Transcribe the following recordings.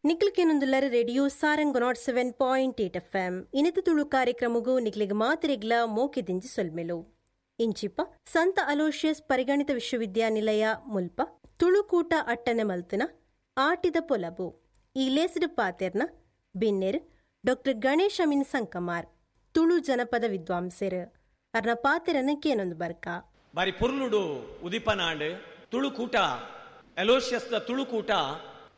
ನಿಕ್ಲಿಕೇನೊಂದುಲ್ಲರ radio Sarang 107.8 FM ಇನಿತ ತುಳು ಕಾರ್ಯಕ್ರಮಗೂ ನಿಕ್ಲಿಗೆ ಮಾತಿರಿಗ್ಲ ಮೋಕೆದಿಂಜಿ ಸೊಲ್ಮೆಲು. ಇಂಚಿಪ ಸಂತ ಅಲೋಷಿಯಸ್ ಪರಿಗಣಿತ ವಿಶ್ವವಿದ್ಯಾನಿಲಯ ಮುಲ್ಪ ತುಳುಕೂಟ ಅಟ್ಟನೆ ಮಲ್ತನ ಆಟಿದ ಪೊಲಬು ಈ ಲೇಸಿಡು ಪಾತೆರ್ನ ಬಿನ್ನೆರ್ ಡಾಕ್ಟರ್ ಗಣೇಶ್ ಅಮೀನ್ ಸಂಕಮಾರ್ ತುಳು ಜನಪದ ವಿದ್ವಾಂಸರು ಅರ್ನ ಪಾತೆರನ ಕೇನೊಂದು ಬರ್ಕ. ಬಾರಿ ಪೊರ್ಲುಡು ಉದಿಪನಾಂಡ್ ತುಳುಕೂಟ ಅಲೋಷಿಯಸ್ದ ತುಳುಕೂಟ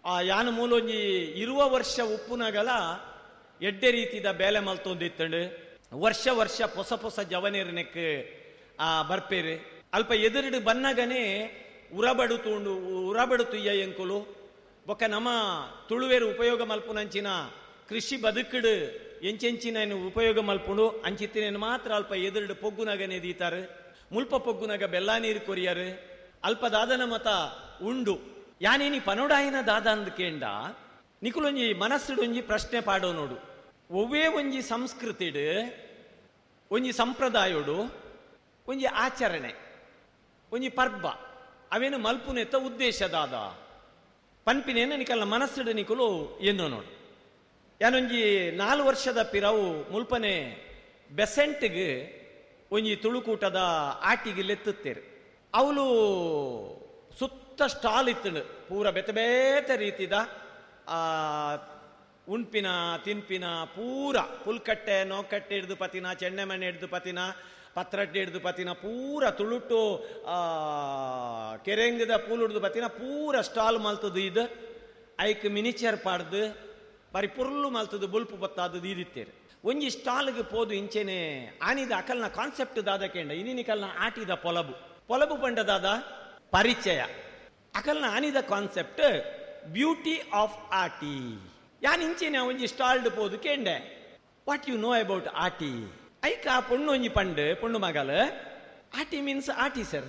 ಆ ಯಾನ ಮೂಲೊಂಜಿ 20 ವರ್ಷ ಉಪ್ಪುನಗಲ ಎಡ್ಡೆ ರೀತಿದ ಬೇಲೆ ಮಲ್ತೊಂದಿತ್ತಂಡು. ವರ್ಷ ವರ್ಷ ಪೊಸ ಪೊಸ ಜವನೇರನೆಕ್ ಆ ಬರ್ಪೇರು. ಅಲ್ಪ ಎದುರುಡು ಬನ್ನಗನೆ ಉರಬಡು ತೂಂಡು ಉರಬಡು ತುಯ್ಯ ಎಂಕುಲು ಬೊಕ್ಕ ನಮ್ಮ ತುಳುವೇರು ಉಪಯೋಗ ಮಲ್ಪುನಂಚಿನ ಕೃಷಿ ಬದುಕುಡು ಎಂಚೆಂಚಿನ ಉಪಯೋಗ ಮಲ್ಪುಂಡು ಅಂಚಿತ್ತಿನ ಮಾತ್ರ ಅಲ್ಪ ಎದುರುಡು ಪೊಗ್ಗುನಗನೆ ದೀತಾರೆ. ಮುಲ್ಪ ಪೊಗ್ಗುನಗ ಬೆಲ್ಲ ನೀರು ಕೊರಿಯರು. ಅಲ್ಪ ದಾದನ ಮತ ಉಂಡು. ಯಾನೇನಿ ಪನೋಡಾಯಿನ ದಾದ ಅಂದ್ ಕೇಂಡ ನಿಕುಲೊಂಜಿ ಮನಸ್ಸುಡೊಂಜಿ ಪ್ರಶ್ನೆ ಪಾಡೋ ನೋಡು. ಒವ್ವೇ ಒಂಜಿ ಸಂಸ್ಕೃತಿಡು ಒಂಜಿ ಸಂಪ್ರದಾಯೋಡು ಒಂಜಿ ಆಚರಣೆ ಒಂಜಿ ಪರ್ಬ ಅವೇನು ಮಲ್ಪುನೆತ್ತ ಉದ್ದೇಶ ದಾದ ಪನ್ಪಿನೇನು ನಿಕಲ್ನ ಮನಸ್ಸುಡು ನಿಕುಲು ಎಂದೋ ನೋಡು. ಯಾನೊಂಜಿ 4 ವರ್ಷದ ಪಿರವು ಮುಲ್ಪನೆ ಬೆಸೆಂಟ್ಗೆ ಒಂಜಿ ತುಳುಕೂಟದ ಆಟಿಗೆ ಲೆತ್ತುತ್ತೇರು. ಅವಳು ಸುತ್ತ ಸ್ಟಾಲ್ ಇತ್ತಂಡು ಪೂರ ಬೇತೆ ಬೇತೆ ರೀತಿದ ಉಣ್ಪಿನ ತಿನ್ಪಿನ ಪೂರ ಪುಲ್ಕಟ್ಟೆ ನೋಕಟ್ಟೆ ಹಿಡ್ದು ಪತಿನ, ಚೆಣ್ಣೆಮಣ್ಣೆ ಹಿಡ್ದು ಪತಿನ, ಪತ್ರಟ್ಟೆ ಹಿಡ್ದು ಪತಿನ, ಪೂರ ತುಳುಟು ಕೆರೆಂಗದ ಪೂಲು ಹಿಡ್ದು ಪತಿನ ಪೂರ ಸ್ಟಾಲ್ ಮಲ್ತದು. ಇದು ಐಕ್ ಮಿನಿಚರ್ ಪಾಡ್ದು ಬಾರಿ ಪುರ್ಲು ಮಲ್ತದು ಬುಲ್ಪು ಬತ್ತಾದದು ಇದಿತ್ತೇರು. ಒಂಜಿ ಸ್ಟಾಲ್ಗೆ ಪೋದು ಇಂಚೆನೆ ಆನಿದ ಅಕಲ್ನ ಕಾನ್ಸೆಪ್ಟ್ ದಾದ ಕೇಂಡ ಇನ್ನಿಕಲ್ನ ಆಟಿದ ಪೊಲಬು ಪೊಲಬು ಪಂಡದಾದ ಪರಿಚಯ ಅಕಲ್ನ ಆನಿದ ಕಾನ್ಸೆಪ್ಟ್ ಬ್ಯೂಟಿ ಆಫ್ ಆಟಿ. ಯಾನ್ ಇಂಚೆನೆ ಒಂಜಿ ಸ್ಟಾಲ್ಡ್ ಪೋದು ಕೇಂಡೆ what you know about ಆಟಿ. ಐಕ ಆ ಪೊಣ್ಣು ಒಂಜಿ ಪಂಡು ಪೊಣ್ಣು ಮಗಲ್ ಆಟಿ ಮೀನ್ಸ್ ಆಟಿ ಸರ್,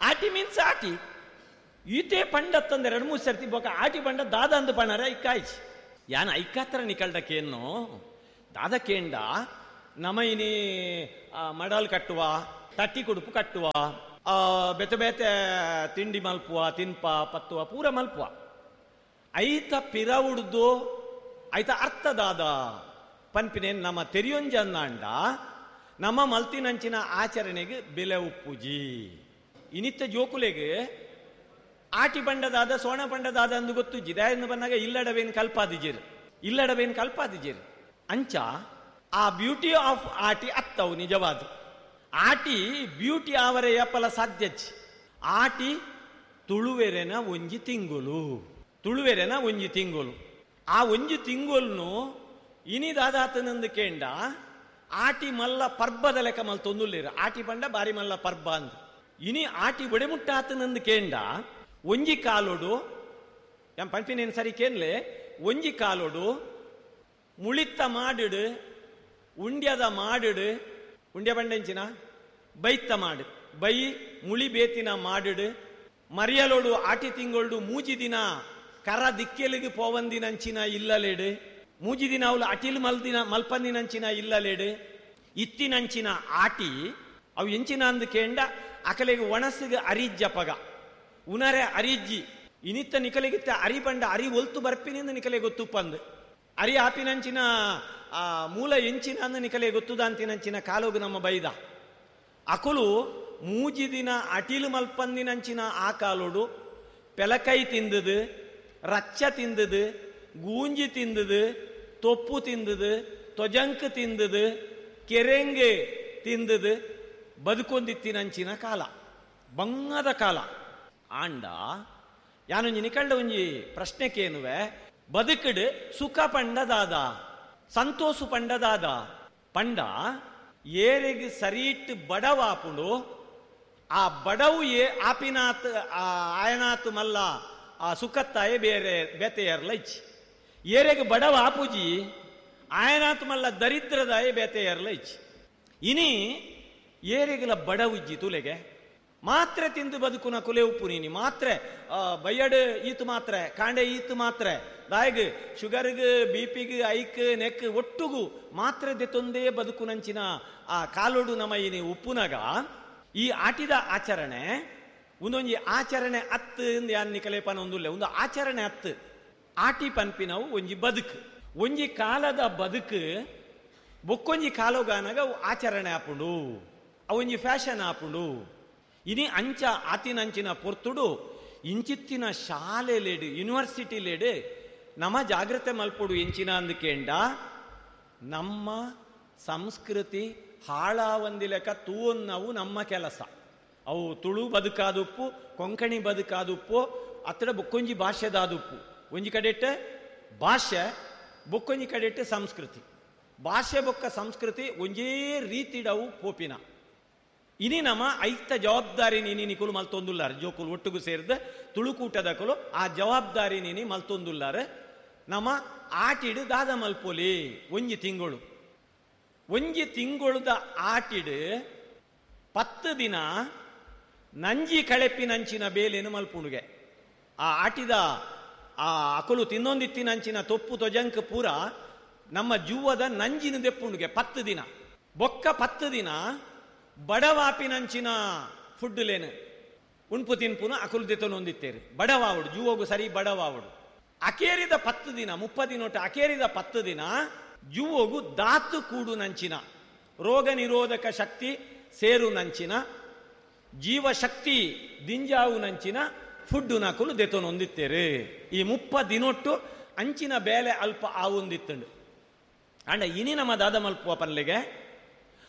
ಆಟಿ ಮೀನ್ಸ್ ಆಟಿ. ಈತೆ ಪಂಡತ್ತಂದ್ರೆ 2-3 ಸರ್ತಿ ಬೋಕ ಆಟಿ ಪಂಡ ದಾದ ಅಂದು ಪಣ್ಣಾರ ಐಕಾಯ್ಚಿ. ಯಾನ್ ಐಕಾತ್ರ ನಿಕಲ್ಡಕ್ಕೇನು ದಾದ ಕೇಂಡ ನಮ ಇನಿ ಮಡಲ್ ಕಟ್ಟುವ, ತಟ್ಟಿ ಕುಡುಪು ಕಟ್ಟುವ, ಬೇತೆ ಬೇತೆ ತಿಂಡಿ ಮಲ್ಪುವ, ತಿನ್ಪ ಪತ್ತುವ ಪೂರ ಮಲ್ಪುವ. ಐತ ಪಿರ ಉಡ್ದು ಐತ ಅರ್ಥದಾದ ಪನ್ಪಿನೇನು ನಮ್ಮ ತೆರಿಯೊಂಜಂದಾಂಡ ನಮ್ಮ ಮಲ್ತಿನಂಚಿನ ಆಚರಣೆಗೆ ಬೆಲೆ ಉಪ್ಪುಜಿ. ಇನಿತ್ತ ಜೋಕುಲೆಗೆ ಆಟಿ ಬಂಡದಾದ ಸೋಣ ಬಂಡದಾದ ಅಂದು ಗೊತ್ತುಜ್ಜಿ. ದಾಯಂದು ಬಂದಾಗ ಇಲ್ಲಡವೇನು ಕಲ್ಪಾದಿಜಿರು, ಇಲ್ಲಡವೇನು ಕಲ್ಪಾದಿಜಿರು. ಅಂಚ ಆ ಬ್ಯೂಟಿ ಆಫ್ ಆಟಿ ಅತ್ತವು ನಿಜವಾದ ಆಟಿ ಬ್ಯೂಟಿ ಆವರೆ ಯಪ್ಪಲ ಸಾಧ್ಯಜ್ಜಿ. ಆಟಿ ತುಳುವೆರೆನ ಒಂಜಿ ತಿಂಗುಲು, ತುಳುವೆರೆನ ಒಂಜಿ ತಿಂಗುಲು. ಆ ಒಂಜಿ ತಿಂಗುಲ್ನು ಇನಿ ದಾದಾತನಂದು ಕೇಂಡ ಆಟಿ ಮಲ್ಲ ಪರ್ಬದ ಲೆಕ್ಕ ಮಲ್ತೊಂದುಲ್ಲೇರು. ಆಟಿ ಪಂಡ ಬಾರಿ ಮಲ್ಲ ಪರ್ಬ ಅಂದು ಇನಿ ಆಟಿ ಒಡೆಮುಟ್ಟಾತನಂದು ಕೇಂಡ ಒಂಜಿ ಕಾಲೋಡು ಎಂ ಪಂಪಿನೇನು ಸರಿ ಕೇನ್ಲೆ ಒಂಜಿ ಕಾಲೋಡು ಮುಳಿತ್ತ ಮಾಡಿಡು ಉಂಡ್ಯದ ಮಾಡಿಡು ಉಂಡ್ಯ ಬಂಡೆಂಚಿನ ಬೈತ್ತ ಮಾಡು ಬೈ ಮುಳಿ ಬೇತಿನ ಮಾಡಿಡು ಮರಿಯಲೋಡು ಆಟಿ ತಿಂಗಳೋಡು ಮೂಜಿ ದಿನ ಕರ ದಿಕ್ಕೆಲಿಗೆ ಪೋವಂದಿನಂಚಿನ ಇಲ್ಲಲೇಡು ಮೂಜಿ ದಿನ ಅವಳು ಅಟಿಲ್ ಮಲ್ದಿನ ಮಲ್ಪಂದಿನಂಚಿನ ಇಲ್ಲಲೇಡು ಇತ್ತಿನಂಚಿನ ಆಟಿ ಅವು ಎಂಚಿನ ಅಂದು ಕೇಂಡ ಅಕಲೆಗೆ ಒಣಸಿಗೆ ಅರಿಜ್ಜಪಗ ಉನರೆ ಅರಿಜ್ಜಿ ಇನಿತ್ತ ನಿಕಲೆಗಿತ್ತ ಅರಿ ಬಂಡ ಅರಿ ಒಲ್ತು ಬರ್ಪಿನಿಂದ ನಿಕಲೆ ಗೊತ್ತುಪ್ಪಂದು ಅರಿ ಆಪಿನಂಚಿನ ಆ ಮೂಲ ಎಂಚಿನ ಅಂದು ನಿಕಲೆ ಗೊತ್ತುದಾಂತಿನಂಚಿನ ಕಾಲೋಗು ನಮ್ಮ ಬೈದ ಅಕುಲು ಮೂಜಿ ದಿನ ಅಟಿಲು ಮಲ್ಪಂದಿನಂಚಿನ ಆ ಕಾಲೋಡು ಪೆಲಕೈ ತಿಂದದು, ರಚ್ಚ ತಿಂದದು, ಗೂಂಜಿ ತಿಂದದು, ತೊಪ್ಪು ತಿಂದದು, ತೊಜಂಕ್ ತಿಂದದು, ಕೆರೆಂಗೆ ತಿಂದದು ಬದುಕೊಂದಿತ್ತಿನಂಚಿನ ಕಾಲ ಬಂಗದ ಕಾಲ. ಆಂಡ ಯಾನೊಂಜಿ ನಿಕಳ್ಳ ಒಂಜಿ ಪ್ರಶ್ನೆ ಕೇನುವೆ ಬದುಕಡು ಸುಖ ಪಂಡದಾದ ಸಂತೋಷ ಪಂಡದಾದ ಪಂಡ ಏರೆಗೆ ಸರಿಟ್ ಬಡವಾಪುಂಡು ಆ ಬಡವು ಏ ಆಪಿನಾತ್ ಆಯನಾತ್ ಮಲ್ಲ ಆ ಸುಖತ್ತಾಯ ಬೇರೆ ಬೇತೆಯರ್ಲ ಇಚ್ಚಿ ಏರೆಗೆ ಬಡವ ಆಪುಜಿ ಆಯನಾತ್ ಮಲ್ಲ ದರಿದ್ರದಾಯ ಬೇತೆಯರ್ಲ ಇಚ್ಚಿ. ಇನಿ ಏರೆಗೆಲ ಬಡವುಜ್ಜಿ ತುಲೆಗೆ ಮಾತ್ರೆ ತಿಂದು ಬದುಕುನ ಕುಲೆ ಉಪ್ಪು ನೀನಿ ಮಾತ್ರೆ ಬಯ್ಯಡು ಈತು ಮಾತ್ರೆ ಕಾಂಡೆ ಈತು ಮಾತ್ರೆ ದಾಯಗ್ ಶುಗರ್ಗ್ ಬಿ ಪಿಗ್ ಐಕ್ ನೆಕ್ ಒಟ್ಟುಗು ಮಾತ್ರೆ ದೆತ್ತೊಂದೇ ಬದುಕುನಂಚಿನ ಆ ಕಾಲೋಡು ನಮ್ಮ ಇನಿ ಉಪ್ಪುನಗ ಈ ಆಟಿದ ಆಚರಣೆ ಒಂದೊಂಜಿ ಆಚರಣೆ ಅತ್ತು ಯಾನ್ ನಿಕಲೇಪನ ಒಂದುಲ್ಲೆ ಒಂದು ಆಚರಣೆ ಅತ್ತು. ಆಟಿ ಪನ್ಪಿನವು ಒಂಜಿ ಬದುಕು, ಒಂಜಿ ಕಾಲದ ಬದುಕು ಬೊಕ್ಕೊಂಜಿ ಕಾಲೋಗಾನಾಗ ಆಚರಣೆ ಆಪುಂಡು, ಅವೊಂಜಿ ಫ್ಯಾಷನ್ ಆಪುಂಡು. ಇನಿ ಅಂಚ ಆತಿನಂಚಿನ ಪೊರ್ತುಡು ಇಂಚಿತ್ತಿನ ಶಾಲೆಲೇಡು ಯೂನಿವರ್ಸಿಟಿಲೇಡು ನಮ್ಮ ಜಾಗ್ರತೆ ಮಲ್ಪೊಡು ಎಂಚಿನ ಅಂದಕೇಂಡ ನಮ್ಮ ಸಂಸ್ಕೃತಿ ಹಾಳಾವಂದಿಲೆಕ ತೂವನ್ನವು ನಮ್ಮ ಕೆಲಸ. ಅವು ತುಳು ಬದುಕಾದುಪ್ಪು, ಕೊಂಕಣಿ ಬದುಕಾದುಪ್ಪು, ಅತ್ತಡ ಬೊಕ್ಕೊಂಜಿ ಭಾಷೆದಾದುಪ್ಪು. ಒಂಜಿ ಕಡೆಟ್ ಭಾಷೆ, ಬೊಕ್ಕೊಂಜಿ ಕಡೆಟ್ ಸಂಸ್ಕೃತಿ. ಭಾಷೆ ಬೊಕ್ಕ ಸಂಸ್ಕೃತಿ ಒಂಜೇ ರೀತಿಡವು ಪೋಪಿನ. ಇನಿ ನಮ್ಮ ಐತ ಜವಾಬ್ದಾರಿ ನೀನಿ ನಿಕುಲು ಮಲ್ತೊಂದುಲ್ಲಾರ, ಜೋಕುಲು ಒಟ್ಟುಗು ಸೇರಿದ ತುಳುಕೂಟದಕುಲು ಆ ಜವಾಬ್ದಾರಿ ನೀನಿ ಮಲ್ತೊಂದುಲ್ಲಾರ. ನಮ್ಮ ಆಟಿಡು ದಾದ ಮಲ್ಪೊಲಿ ಒಂಜಿ ತಿಂಗಳು, ಒಂಜಿ ತಿಂಗಳುದ ಆಟಿಡು 10 ದಿನ ನಂಜಿ ಕಳೆಪಿನಂಚಿನ ಬೇಲೇನು ಮಲ್ಪುಂಡುಗೆ. ಆ ಆಟಿದ ಆ ಅಕುಲು ತಿನ್ನೊಂದಿತ್ತಿನಂಚಿನ ತೊಪ್ಪು ತೊಜಂಕ್ ಪೂರ ನಮ್ಮ ಜೂವದ ನಂಜಿನ ದೆಪ್ಪುಂಡುಗೆ 10 ದಿನ. ಬೊಕ್ಕ 10 ದಿನ ಬಡವಾಪಿನಂಚಿನ ಫುಡ್ಲೇನು ಉಣ್ಪು ತಿನ್ಪುನು ಅಕುಲು ದೆತ್ತೊಂದಿತ್ತೇರಿ. ಬಡವಾವುಡು ಜೂವಗು ಸರಿ ಬಡವಾವುಡು. ಅಕೇರಿದ 10 ದಿನ, 30 ದಿನೊಟ್ಟು ಅಕೇರಿದ 10 ದಿನ ಜೂವಗು ದಾತು ಕೂಡು ನಂಚಿನ ರೋಗ ನಿರೋಧಕ ಶಕ್ತಿ ಸೇರು ನಂಚಿನ ಜೀವಶಕ್ತಿ ದಿಂಜಾವು ನಂಚಿನ ಫುಡ್ಡು ನಕುಲು ದೆತ್ತೊಂದಿತ್ತೇರಿ. ಈ 30 ದಿನೊಟ್ಟು ಅಂಚಿನ ಬೇಲೆ ಅಲ್ಪ ಆವೊಂದಿತ್ತಂಡು. ಅಂಡ ಇನಿ ನಮ್ಮ ದಾದ ಮಲ್ಪುವ ಪನ್ಲೆಗೆ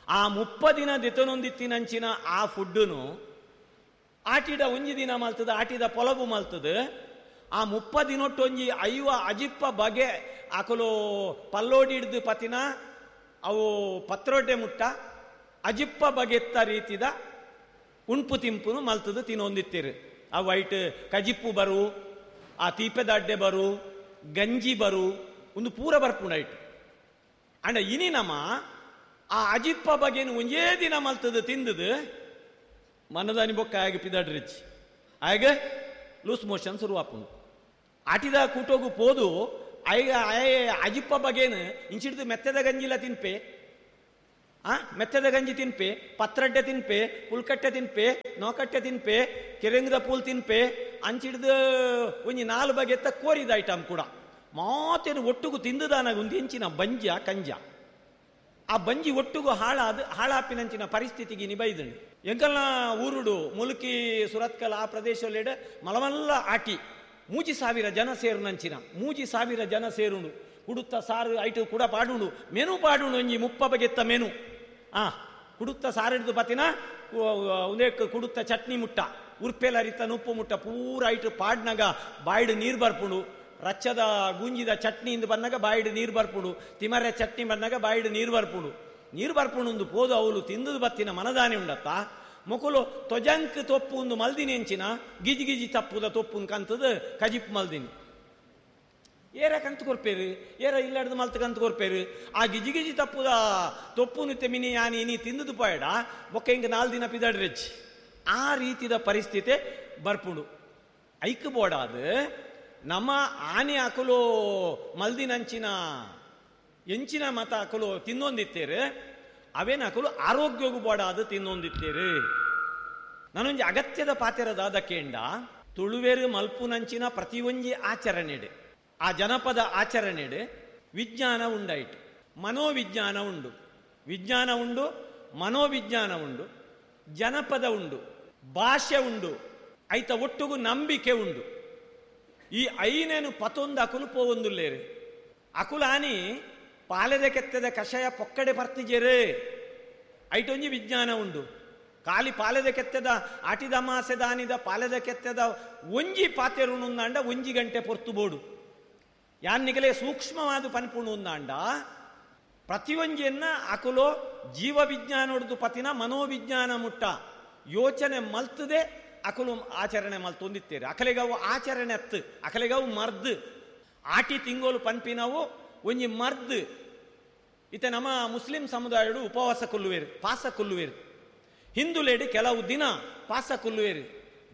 ಆ 30 ದಿನ ದೆತ್ತೊಂದಿತ್ತಿನಂಚಿನ ಆ ಫುಡ್ಡುನು ಆಟಿದ ಒಂಜಿ ದಿನ ಮಲ್ತದ, ಆಟಿದ ಪೊಲಬು ಮಲ್ತದ. ಆ 30 ದಿನೊಟ್ಟು ಒಂಜಿ 50 ಅಜಿಪ್ಪ ಬಗೆ ಅಕಲು ಪಲ್ಲೋಡಿ ಹಿಡ್ದು ಪತಿನ ಅವು ಪತ್ರೊಡ್ಡೆ ಮುಟ್ಟ ಅಜಿಪ್ಪ ಬಗೆತ್ತ ರೀತಿದ ಉಣ್ಪು ತಿಂಪುನು ಮಲ್ತದ ತಿನ್ನೊಂದಿತ್ತೀರಿ. ಆ ವೈಟ್ ಕಜಿಪ್ಪು ಬರು, ಆ ತೀಪೆದ ಅಡ್ಡೆ ಬರು, ಗಂಜಿ ಬರು, ಒಂದು ಪೂರ ಬರ್ಪುಂಡು ಐಟ್. ಅಂಡ ಇನಿ ನಮ್ಮ ಆ ಅಜಿಪ್ಪ ಬಗೆನು ಒಂದೇ ದಿನ ಮಲ್ತದ ತಿಂದದು ಮನದಾನಿ ಬೊಕ್ಕ ಆಗ ಪಿದಾಡ್ರಿಚ್ ಆಗ ಲೂಸ್ ಮೋಷನ್ ಶುರುವಾಪುಂಡು. ಆಟಿದ ಕೂಟೋಗು ಪೋದು ಆಗ ಅಜಿಪ್ಪ ಬಗೇನು ಇಂಚಿಡ್ದು ಮೆತ್ತದ ಗಂಜಿಲ ತಿನ್ಪೆ, ಆ ಮೆತ್ತದ ಗಂಜಿ ತಿನ್ಪೆ, ಪತ್ರಡ್ಡೆ ತಿನ್ಪೆ, ಪುಲ್ಕಟ್ಟೆ ತಿನ್ಪೆ, ನೋಕಟ್ಟೆ ತಿನ್ಪೆ, ಕೆರೆಂಗದ ಪೂಲ್ ತಿನ್ಪೆ, ಅಂಚಿಡ್ದು ಒಂಜಿ 4 ಬಗೆತ್ತ ಕೋರಿದ ಐಟಮ್ ಕೂಡ ಮಾತೇನು ಒಟ್ಟುಗು ತಿಂದುದಾನಾಗ ಒಂದು ಇಂಚಿನ ಬಂಜ ಕಂಜ. ಆ ಬಂಜಿ ಒಟ್ಟುಗು ಹಾಳಾದ ಹಾಳಾಪಿನಂಚಿನ ಪರಿಸ್ಥಿತಿಗೆ ನಿಬೈದಂಡು. ಎಂಕಲ್ನ ಊರುಡು ಮುಲ್ಕಿ ಸುರತ್ಕಲ್ ಆ ಪ್ರದೇಶದಲ್ಲಿಡ ಮಲಮಲ್ಲ ಆಟಿ 3,000 ಜನ ಸೇರುನಂಚಿನ 3,000 ಜನ ಸೇರುಂಡು. ಕುಡುತ್ತ ಸಾರು ಐಟು ಕೂಡ ಪಾಡುಂಡು, ಮೆನು ಪಾಡುಂಡು ಒಂಜಿ 30 ಬಗೆತ್ತ ಮೆನು. ಆ ಕುಡುತ್ತ ಸಾರು ಹಿಡಿದು ಪತಿನ ಒಂದೇ ಕುಡುತ್ತ ಚಟ್ನಿ ಮುಟ್ಟ, ಉರ್ಪೆಲ ಅರಿತ ನುಪ್ಪು ಮುಟ್ಟ ಪೂರ ಐಟು ಪಾಡ್ನಾಗ ಬಾಯ್ಡು ನೀರು ಬರ್ಪುಂಡು. ರಚ್ಚದ ಗುಂಜಿದ ಚಟ್ನಿಯಿಂದ ಬಂದಾಗ ಬಾಯಿಡು ನೀರು ಬರ್ಪುಂಡು, ತಿಮರೆ ಚಟ್ನಿ ಬಂದಾಗ ಬಾಯಿಡು ನೀರು ಬರ್ಪುಂಡು. ನೀರು ಬರ್ಪುಂಡು ಪೋದು ಅವಳು ತಿಂದದು ಬತ್ತಿನ ಮನದಾನಿ ಉಂಡತ್ತ ಮೊಕುಲು ತೊಜಂಕ್ ತೊಪ್ಪು ಒಂದು ಮಲ್ದಿನಿ ಎಂಚಿನ ಗಿಜಿ ಗಿಜಿ ತಪ್ಪುದ ತೊಪ್ಪು ಕಂತದ ಕಜಿಪ್ ಮಲ್ದಿನಿ. ಏರ ಕಂತು ಕೊರ್ಪೇರು, ಏರ ಇಲ್ಲಾಡ್ದು ಮಲ್ತು ಕಂತು ಕೊರ್ಪೇರು. ಆ ಗಿಜಿ ಗಿಜಿ ತಪ್ಪುದ ತೊಪ್ಪು ಮಿನಿ ಯಾನಿ ನೀ ತಿಂದದು ಪೋಯಡ ಬೊಕ್ಕ ಹಿಂಗೆ 4 ದಿನ ಪಿದಾಡ್ರೆಚ್ಚಿ. ಆ ರೀತಿದ ಪರಿಸ್ಥಿತಿ ಬರ್ಪುಂಡು. ಐಕ್ ಬೋಡಾದು ನಮ್ಮ ಆನೆ ಅಕುಲು ಮಲ್ದಿನಂಚಿನ ಎಂಚಿನ ಮತ ಅಕುಲು ತಿನ್ನೊಂದಿತ್ತೇರು, ಅವೇನ ಅಕುಲು ಆರೋಗ್ಯಗೂ ಬೋಡಾದು ತಿನ್ನೊಂದಿತ್ತೇರು. ನಾನೊಂಜಿ ಅಗತ್ಯದ ಪಾತೆರದಾದ ಕೇಂಡ ತುಳುವೇರು ಮಲ್ಪುನಂಚಿನ ಪ್ರತಿಯೊಂಜಿ ಆಚರಣೆಡೆ, ಆ ಜನಪದ ಆಚರಣೆಡೆ ವಿಜ್ಞಾನ ಉಂಡಾಯಿತು, ಮನೋವಿಜ್ಞಾನ ಉಂಡು, ವಿಜ್ಞಾನ ಉಂಡು, ಮನೋವಿಜ್ಞಾನ ಉಂಡು, ಜನಪದ ಉಂಡು, ಭಾಷೆ ಉಂಡು, ಐತ ಒಟ್ಟುಗು ನಂಬಿಕೆ ಉಂಡು. ಈ ಐನೇನು ಪತೊಂದು ಅಕುಲು ಪೋವೊಂದುಲ್ಲೇರು. ಅಕುಲಾನಿ ಪಾಲೆದ ಕೆತ್ತದ ಕಷಾಯ ಪೊಕ್ಕಡೆ ಪರ್ತಿಜೇರು, ಐಟೊಂಜಿ ವಿಜ್ಞಾನ ಉಂಡು. ಖಾಲಿ ಪಾಲೆದ ಕೆತ್ತದ ಆಟಿದ ಮಾಸೆದಾನಿದ ಪಾಲೆದ ಕೆತ್ತದ ಒಂಜಿ ಪಾತೆರುಣುಂದಾಂಡ ಒಂಜಿ ಗಂಟೆ ಪೊರ್ತು ಬೋಡು. ಯಾನ್ನಿಗಲೇ ಸೂಕ್ಷ್ಮವಾದ ಪನ್ಪುಣುಂದಾಂಡ ಪ್ರತಿಯೊಂಜಿಯನ್ನ ಅಕುಲು ಜೀವವಿಜ್ಞಾನೊಡ್ದು ಪತಿನ ಮನೋವಿಜ್ಞಾನ ಮುಟ್ಟ ಯೋಚನೆ ಮಲ್ತದೆ ಅಕುಲು ಆಚರಣೆ ಮಲ್ತೊಂದಿತ್ತೇರು. ಅಕಲೆಗವು ಆಚರಣೆ ಅತ್ತು, ಅಕಲೆಗವು ಮರ್ದು. ಆಟಿ ತಿಂಗೋಲು ಪನ್ಪಿನವು ಒಂಜಿ ಮರ್ದು. ಇತ ನಮ್ಮ ಮುಸ್ಲಿಂ ಸಮುದಾಯಡು ಉಪವಾಸ ಕೊಲ್ಲುವೇರು, ಪಾಸ ಕೊಲ್ಲುವೇರು. ಹಿಂದುಲೇಡಿ ಕೆಲವು ದಿನ ಪಾಸ ಕೊಲ್ಲುವೇರು.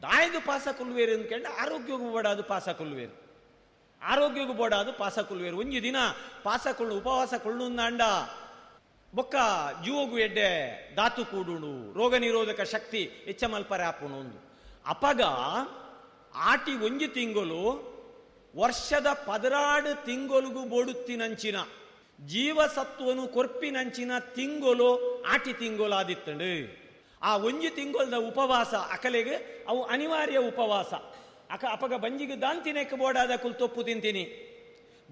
ದಾಯದು ಪಾಸ ಕೊಲ್ಲುವೇರು ಅಂದ್ಕೊಂಡು ಆರೋಗ್ಯಗೂ ಬೋಡಾದು ಪಾಸ ಕೊಲ್ಲುವೇರು, ಆರೋಗ್ಯಗೂ ಬೋಡಾದು ಪಾಸ ಕೊಲ್ಲುವೇರು. ಒಂಜಿ ದಿನ ಪಾಸ ಕೊಳ್ಳು ಉಪವಾಸ ಕೊಳ್ಳುಂದಾಂಡ ಬೊಕ್ಕ ಜೀವಗು ಎಡ್ಡೆ ಧಾತು ಕೂಡುಣು, ರೋಗ ನಿರೋಧಕ ಶಕ್ತಿ ಹೆಚ್ಚ ಮಲ್ಪರೆ ಆಪುಣು ಒಂದು. ಅಪಗ ಆಟಿ ಒಂಜಿ ತಿಂಗಳು ವರ್ಷದ 16 ತಿಂಗೊಲುಗು ಬೋಡುತ್ತಿನಂಚಿನ ಜೀವಸತ್ವನು ಕೊರ್ಪಿನಂಚಿನ ತಿಂಗೊಲು ಆಟಿ ತಿಂಗೊಲಾದಿತ್ತಂಡು. ಆ ಒಂಜಿ ತಿಂಗೊಲ್ದ ಉಪವಾಸ ಅಕಲೆಗೆ ಅವು ಅನಿವಾರ್ಯ ಉಪವಾಸ. ಅಕ ಅಪಗ ಬಂಜಿಗೆ ದಾಂತಿನೆಕ್ ಬೋಡಾದ ಕುಲ್ ತೊಪ್ಪು ತಿಂತೀನಿ,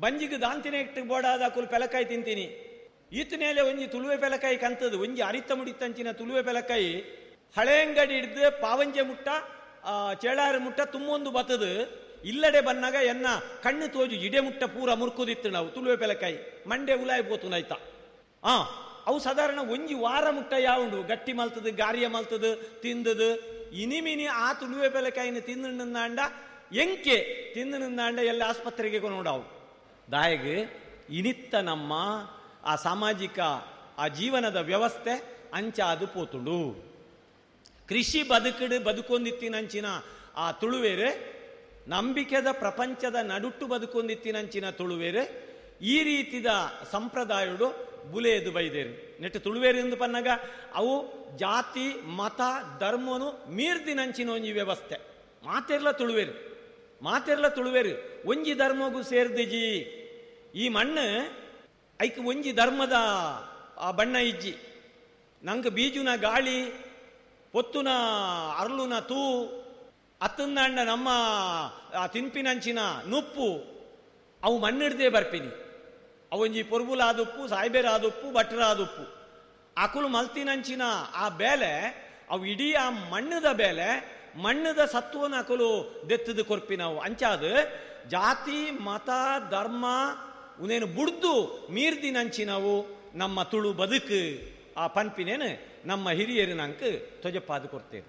ಬಂಜಿಗೆ ದಾಂತಿನೆಕ್ ಬೋಡಾದ ಕುಲ್ ಪೆಲಕಾಯಿ ತಿಂತೀನಿ. ಈತನೇಲೆ ಒಂಜಿ ತುಳುವೆ ಪೆಲಕಾಯಿ ಕಂತದು, ಒಂಜಿ ಅರಿತ ಮುಡಿತಂಚಿನ ತುಳುವೆ ಪೆಲಕಾಯಿ ಹಳೆಂಗಡಿ ಹಿಡ್ದು ಪಾವಂಜೆ ಮುಟ್ಟ ಚೇಳಾರು ಮುಟ್ಟ ತುಂಬೊಂದು ಬತ್ತದು. ಇಲ್ಲಡೆ ಬನ್ನಾಗ ಎನ್ನ ಕಣ್ಣು ತೋಜು ಇಡೆ ಮುಟ್ಟ ಪೂರ ಮುರ್ಕುದಿತ್ತು ನಾವು ತುಳುವೆ ಪೆಲಕಾಯಿ ಮಂಡೆ ಉಲಾಯಿ ಪೋತು ಆಯ್ತಾ. ಅವು ಸಾಧಾರಣ ಒಂಜಿ ವಾರ ಮುಟ್ಟ ಯಾವುಂಡು ಗಟ್ಟಿ ಮಲ್ತದು, ಗಾರಿಯ ಮಲ್ತದು, ತಿಂದದು. ಇನಿಮಿನಿ ಆ ತುಳುವೆ ಪೆಲಕಾಯಿನ ತಿಂದು ನಿಂದಾಂಡ ಎಂಕೆ ತಿಂದು ನಿಂದಾಂಡ ಎಲ್ಲ ಆಸ್ಪತ್ರೆಗೆ ನೋಡವು. ದಾಯಗ್ ಇನಿತ್ತ ನಮ್ಮ ಆ ಸಾಮಾಜಿಕ ಆ ಜೀವನದ ವ್ಯವಸ್ಥೆ ಅಂಚಾದು ಪೋತುಂಡು. ಕೃಷಿ ಬದುಕಿಡು ಬದುಕೊಂದಿತ್ತಿನಂಚಿನ ಆ ತುಳುವೇರೆ, ನಂಬಿಕೆದ ಪ್ರಪಂಚದ ನಡುಟ್ಟು ಬದುಕೊಂದಿತ್ತಿನಂಚಿನ ತುಳುವೇರೆ ಈ ರೀತಿದ ಸಂಪ್ರದಾಯಡು ಬುಲೆಯದು ಬೈದೇರು. ನೆಟ್ಟು ತುಳುವೇರು ಎಂದು ಪನ್ನಾಗ ಅವು ಜಾತಿ ಮತ ಧರ್ಮನು ಮೀರ್ದಿನಂಚಿನ ಒಂಜಿ ವ್ಯವಸ್ಥೆ. ಮಾತೆರ್ಲ ತುಳುವೇರು, ಮಾತೆರ್ಲ ತುಳುವೇರು ಒಂಜಿ ಧರ್ಮಗೂ ಸೇರ್ದಿಜಿ. ಈ ಮಣ್ಣು ಐಕ್ ಒಂಜಿ ಧರ್ಮದ ಆ ಬಣ್ಣ ಇಜ್ಜಿ. ನಂಗೆ ಬೀಜುನ ಗಾಳಿ, ಪೊತ್ತುನ ಅರ್ಲುನ ತೂ, ಅತ್ತಂದಾಂಡ ನಮ್ಮ ತಿನ್ಪಿನಂಚಿನ ನುಪ್ಪು ಅವು ಮಣ್ಣಿಡ್ದೇ ಬರ್ಪಿನಿ. ಅವೊಂಜಿ ಪೊರ್ಬುಲಾದುಪ್ಪು, ಸಾಯ್ಬೇರಾದುಪ್ಪು, ಭಟ್ರಾದುಪ್ಪು ಅಕುಲು ಮಲ್ತಿನಂಚಿನ ಆ ಬೇಲೆ ಅವು ಇಡೀ ಆ ಮಣ್ಣದ ಬೇಲೆ, ಮಣ್ಣದ ಸತ್ವನ ಅಕುಲು ದೆತ್ತದು ಕೊರ್ಪಿನವು. ಅಂಚಾದ ಜಾತಿ ಮತ ಧರ್ಮ ಉನೇನು ಬುಡ್ದು ಮೀರ್ದಿನಂಚಿನವು ನಮ್ಮ ತುಳು ಬದುಕು ಆ ಪನ್ಪಿನೇನು ನಮ್ಮ ಹಿರಿಯರು ನಂಗೆ ತೊಜಪಾದು ಕೊಡ್ತೇವೆ.